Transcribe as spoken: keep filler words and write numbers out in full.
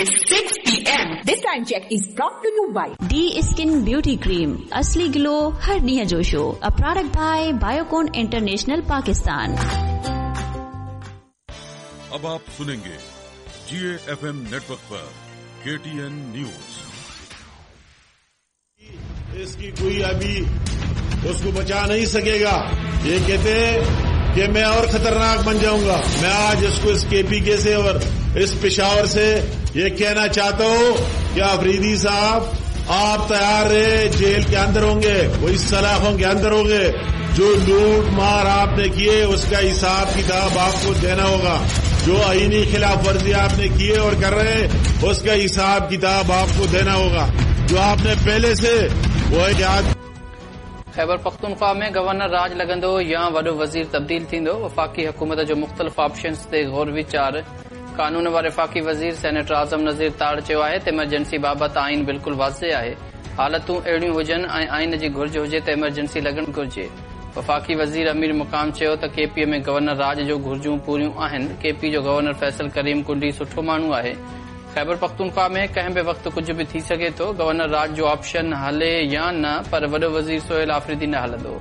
is six P M. This time check is brought to you by D Skin Beauty Cream, असली glow हर ॾींहं जो show, a product by Biocon International Pakistan. अब आप सुनेंगे जी F M network पर के T N news. इसकी कोई अभी उसको बचा नहीं सकेगा। ये कहते हैं कि मैं और खतरनाक बन जाऊंगा। मैं आज इसको इस के पी के से और इस पेशावर से ये कहना चाहता हूं कि अफरीदी साहब आप तैयार रहे, जेल के अंदर होंगे, वही सलाखों के अंदर होंगे। जो लूट मार आपने किए उसका हिसाब किताब आपको देना होगा। जो आईनी खिलाफ वर्जी आपने किए और कर रहे हैं उसका हिसाब किताब आपको देना होगा। जो आपने पहले से वो याद। ख़ैबर पख्तूनख्वा में गवर्नर राज लॻंदो या वॾो वज़ीर तब्दील थींदो। वफ़ाक़ी हुकूमत जो मुख़्तलिफ़ ऑप्शंस ते गौर वीचार। कानून वारे वफ़ाक़ी वज़ीर सेनेटर आज़म नज़ीर ताड़ चयो आहे त इमरजेंसी बाबति आइन बिल्कुलु वाज़े आहे। हालतूं अहिड़ियूं हुजनि ऐं आइन जी घुर्ज हुजे त इमरजेंसी लॻणु घुर्जे। वफ़ाक़ी वज़ीर अमीर मुक़ाम चयो त के पी में गवर्नर राज जो घुर्जूं पूरियूं आहिनि। के पी जो गवर्नर फैसल करीम कुंडी सुठो माण्हू आहे। ख़ैबर पख्तूनख्वा में कंहिं बि वक़्तु कुझु बि थी सघे थो। गवर्नर राज जो ऑप्शन हले या न, पर वॾो वज़ीर सोहेल आफरीदी न हलंदो।